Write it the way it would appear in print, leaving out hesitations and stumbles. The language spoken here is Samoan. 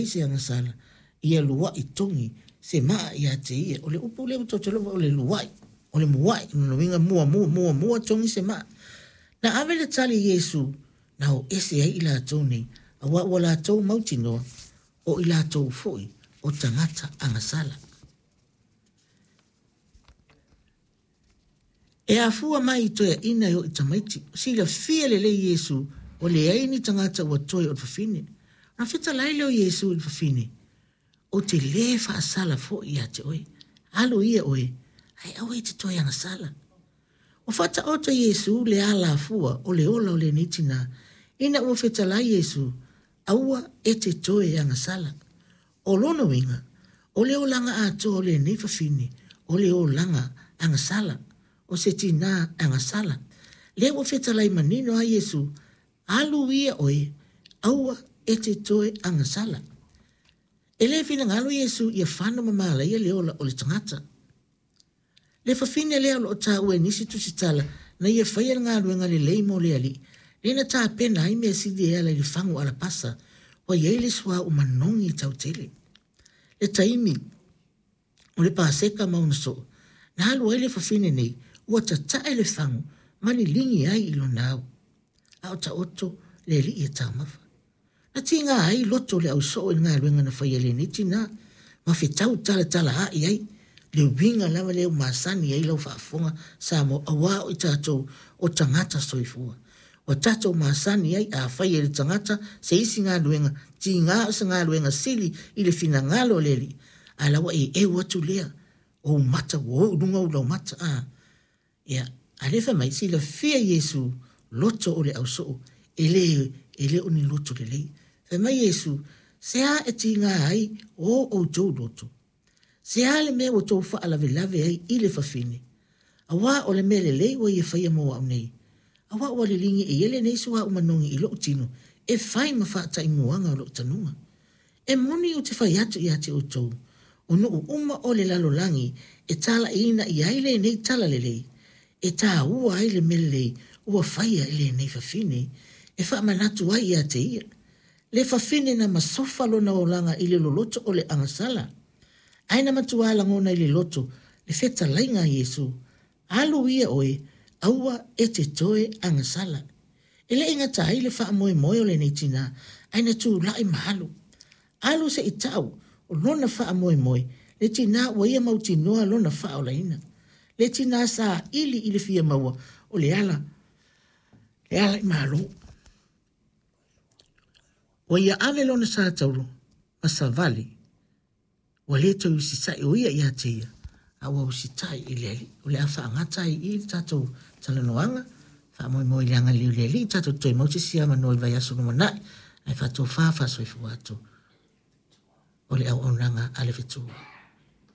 ai se agasala, ia luaʻi togi se maa ia te ia. O le upu lea ua tou iloa o le luaʻi, o le muaʻi, o lona uiga muamua, muamua togi se maa. Na ave le tali i Iesu, na o ese ai i latou nei, auā ua latou mautinoa, o i latou foi o tagata agasala. E afua mai i toeaiina e o i tamaiti, silafia lelei Iesu ua leai ni tagata ua toe o le fafine. Ona fetalai lea o Iesu i le fafine, Ou te lē faasala foi ia te oe. Alu ia oe, ae aua e te toe agasala. Ua faataoto Iesu le alafua o le ola o lenei tinā, ina ua fetalai Iesu, Aua e te toe agasala. O lona uiga, o le olaga atoa o lenei fafine, o le olaga agasala, o se tinā agasala. Lea ua fetalai manino lava Iesu, Alu ia oe, aua e te toe agasala. E le finagalo Iesu ia fano ma malaia le ola o le tagata. Le fafine lea o lo o taua e nisi tusitala na ia faia le galuega lelei mo le Alii, lea na tapena ai mea sili e ala i le fagu alapasa, ua i ai le suauu manogi tautele. Le taimi o le Paseka ma ona soo, na alu ai le fafine nei, ua tatae le fagu ma liligi ai i lona au. A o taoto le Alii e taumafa. Na tiga ai loto o le ausoo i le galuega na faia e lenei tinā, ma fetau talatalaai ai le uiga lava lea ua masani ai lau faafofoga Samoa auā o i tatou o tagata soifua. Ua tatou masani ai a fai e le tagata se isi galuega tiga o se galuega sili i le finagalo o le Alii, a la ua e eu atu lea, ou mata ua o i luga ou laumata, a. Ia, a lea fai mai, silafia Iesu loto o le ausoo, e le, e le o ni loto lelei. Fai mai Iesu, Se a e tiga ai o outou loto? Se a le mea ua tou faalavelave ai i le fafine? Auā o le mea lelei ua ia faia mo au nei. Auā ua liligi e ia lenei suauu manogi i lou tino e fai ma faataimuaga o lou tanuga. E moni ou te fai atu ia te outou, o nuu uma o le lalolagi e talaiina i ai lenei talalelei, e tāua ai le mea lelei ua faia e lenei fafine, e faamanatu ai ia te ia. Le fafine na masofa lona olaga i le loloto o le agasala, ae na matuā lagona i le loto le fetalaiga a Iesu, Alu ia oe, aua e te toe agasala. E le i gata ai le faamoemoe o lenei tinā, ae na tulai ma alu. Alu se i tau o lona faamoemoe, le tinā ua ia mautinoa lona faaolaina. Le tinā saili i le fia maua o le ala, le ala i Malo. Ua ia ave lona sa taulo ma savali Ua le toe usitai o ia ia te ia, a ua usitai i le Alii. O le a faagata ai i i le tatou talanoaga, faamoemoe i le agalelei o le Alii, tatou toe maua se isi avanoa i le vaiaso lumanai, ae faatofa faasoifua atu o le auaunaga a le fetu.